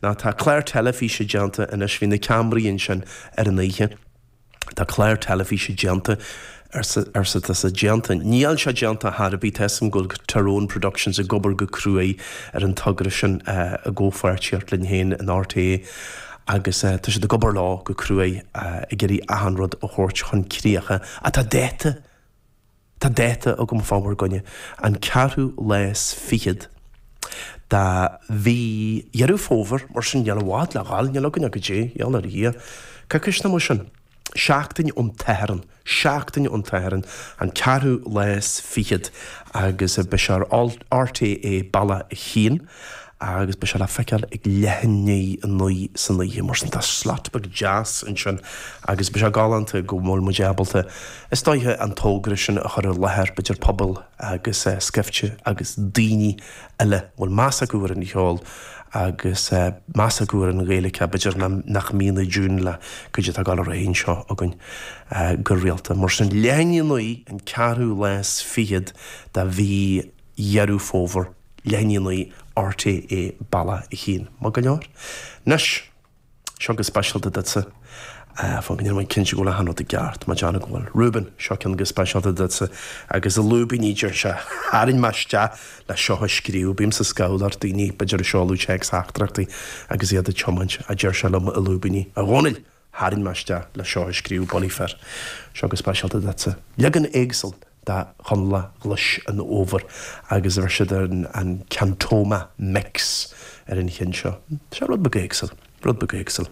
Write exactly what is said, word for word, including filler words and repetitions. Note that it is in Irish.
ná tá clár teilifíse déanta anois bhí na ceamaraí ansin ar an oíche. Tá clár teilifíse déanta arsa arsa tá sé déanta. Níl sé déanta ar bith tá a fhios agam go bhfuil Tyrone Productions ag obair go cruaidh ar an togra sin i gcomhpháirtíocht linn féin in RTÉ agus tá siad ag obair leo go cruaidh ag iarraidh achan rud a thabhairt chun críocha atá dáta Tá dáta agam fá bhur gcoinne, an ceathrú lá is fichead de mhí Dheireadh Fómhair, mar sin níl i bhfad le dhul, níl againn ach go dtí, gheall ar Dhia, coicís nó mar sin, seachtain ón tSatharn, seachtain ón tSatharn, an ceathrú lá is fichead agus beidh sé ar RTÉ Bealach a hAon agus beidh sé le feiceáil ag leath i ndiaidh a naoi san oíche. Mar sin tá slot beag deas ansin agus beidh sé galánta go bhfuil muid ábalta, is dóiche, an togra sin a chur i láthair, b'fhéidir pobal agus scaifte agus daoine eile a bhfuil meas acu ar an cheol agus meas acu ar an Ghaeilge, b'fhéidir nach mbíonn i dtiún le cuid atá ag dul ar aghaidh anseo againn go rialta. Mar sin, leath i ndiaidh a naoi, an ceathrú lá is fichead de mhí Dheireadh Fómhair. Leath i ndiaidh a naoi RTÉ Bealach a hAon. Maith go leor. Anois, seo go speisialta duitse. Fan go ndéanfaidh mé cinnte go bhfuil achan rud i gceart, má déanamh go bhfuil. Reuben, seo ceann go speisialta duitse. Agus i lúibíní, deir sé, tharraing mé isteach le seo a scríobh. Bímse scamhal ar daoine, b'fhéidir ag seoladh téacs-theachtaireachtaí agus iad ag tiomáint, a deir sé liom i lúibíní. A Dhónaill! Tharraing mé isteach le seo a scríobh, Bunny Fir. Seo go speisialta duitse. Leagan éagsúil de Chonallach Ghluais an Fhómhair agus bheir siad an Cantoma Mix ar an cheann seo. Seo rud beag éagsúil, rud beag éagsúil.